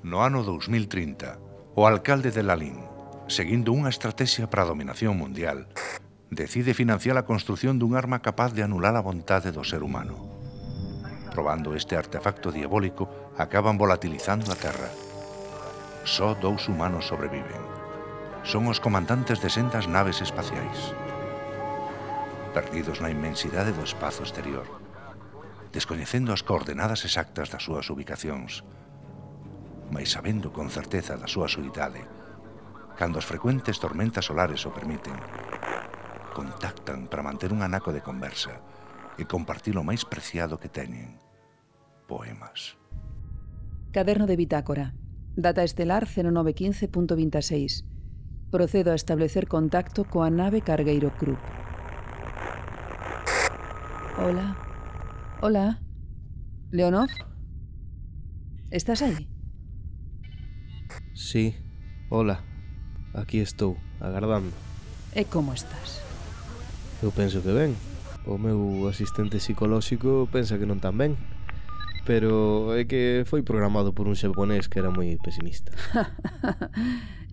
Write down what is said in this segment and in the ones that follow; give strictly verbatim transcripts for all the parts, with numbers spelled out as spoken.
No ano dous mil trinta, o alcalde de Lalín, seguindo unha estrategia para a dominación mundial, decide financiar a construción dun arma capaz de anular a vontade do ser humano. Probando este artefacto diabólico, acaban volatilizando a Terra. Só dous humanos sobreviven. Son os comandantes de sendas naves espaciais. Perdidos na inmensidade do espazo exterior, descoñecendo as coordenadas exactas das súas ubicacións, mais sabendo con certeza da súa soidade, cando as frecuentes tormentas solares o permiten, contactan para manter un anaco de conversa e compartir o máis preciado que teñen, poemas. Caderno de bitácora. Data estelar cero nove quince punto veintiséis. Procedo a establecer contacto coa nave Cargueiro Krupp. Hola. Hola. Leonov? Estás aí? Sí, hola. Aquí estou, agardando. E como estás? Eu penso que ben. O meu asistente psicolóxico pensa que non tan ben. Pero é que foi programado por un xaponés que era moi pesimista.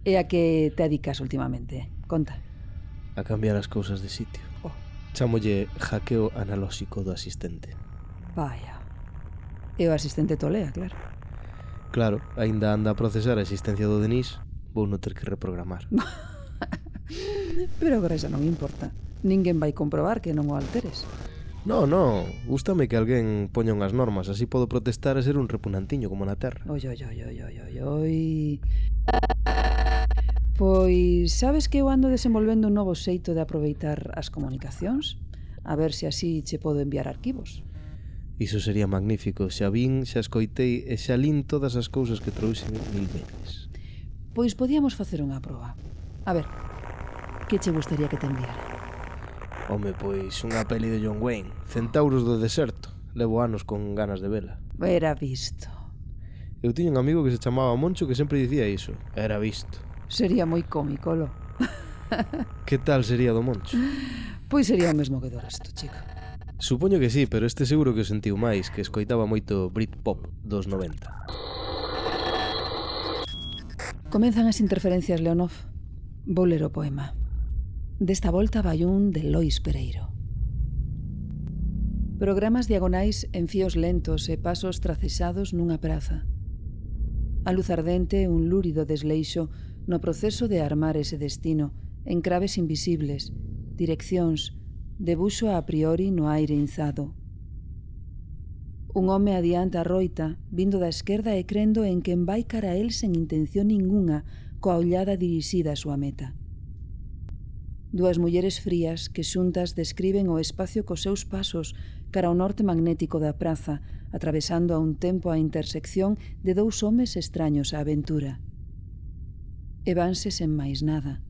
E a que te dedicas últimamente? Conta. A cambiar as cousas de sitio. Oh. Chámolle hackeo analóxico do asistente. Vaya. E o asistente tolea, claro. Claro, aínda anda a procesar a existencia do Denis. Vou non ter que reprogramar. Pero agora xa non importa. Ninguén vai comprobar que non o alteres. No, no, gústame que alguén poña unhas normas. Así podo protestar e ser un repunantiño como na Terra. Oi, oi, oi, oi, oi, oi, oi. Pois sabes que eu ando desenvolvendo un novo xeito de aproveitar as comunicacións? A ver se así che podo enviar arquivos. Iso sería magnífico. Xa vin, xa escoitei e xa lin todas as cousas que trouxen mil veces. Pois podíamos facer unha proba. A ver, que che gustaría que te enviara? Home, pois unha peli de John Wayne, Centauros do deserto. Levo anos con ganas de vela. Era visto. Eu tiña un amigo que se chamaba Moncho que sempre dicía iso. Era visto. Sería moi cómico, lo. Que tal sería do Moncho? Pois sería o mesmo que do resto, chico. Supoño que sí, pero este seguro que o sentiu máis, que escoitaba moito Britpop dos noventa. Comezan as interferencias, Leonov. Vou ler o poema. Desta volta vai un de Lois Pereiro. Programas diagonais en fíos lentos e pasos tracesados nunha praza. A luz ardente, un lúrido desleixo no proceso de armar ese destino, encraves invisibles, direccións, debuxo a priori no aire inzado. Un home adianta a roita, vindo da esquerda e crendo en quen vai cara a el sen intención ningunha, coa ollada dirixida a súa meta. Dúas mulleres frías que xuntas describen o espacio cos seus pasos cara ao norte magnético da praza, atravesando a un tempo a intersección de dous homes extraños á aventura. E vanse sen máis nada,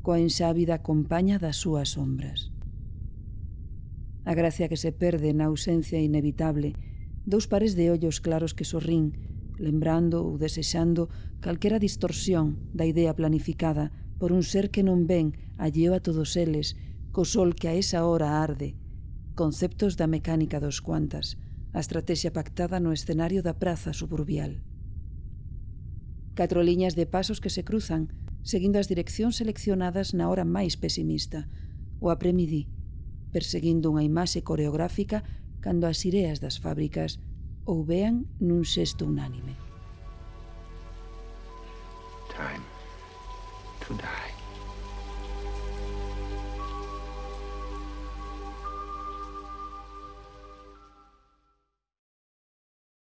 coa enxávida compaña das súas sombras. A gracia que se perde na ausencia inevitable, dous pares de ollos claros que sorrín, lembrando ou desexando calquera distorsión da idea planificada por un ser que non ven alleo a todos eles, co sol que a esa hora arde, conceptos da mecánica dos cuantas, a estrategia pactada no escenario da praza suburbial. Catro liñas de pasos que se cruzan, seguindo as direccións seleccionadas na hora máis pesimista, o apremidí, perseguindo unha imaxe coreográfica cando as ireas das fábricas ou vean nun xesto unánime. Time to die.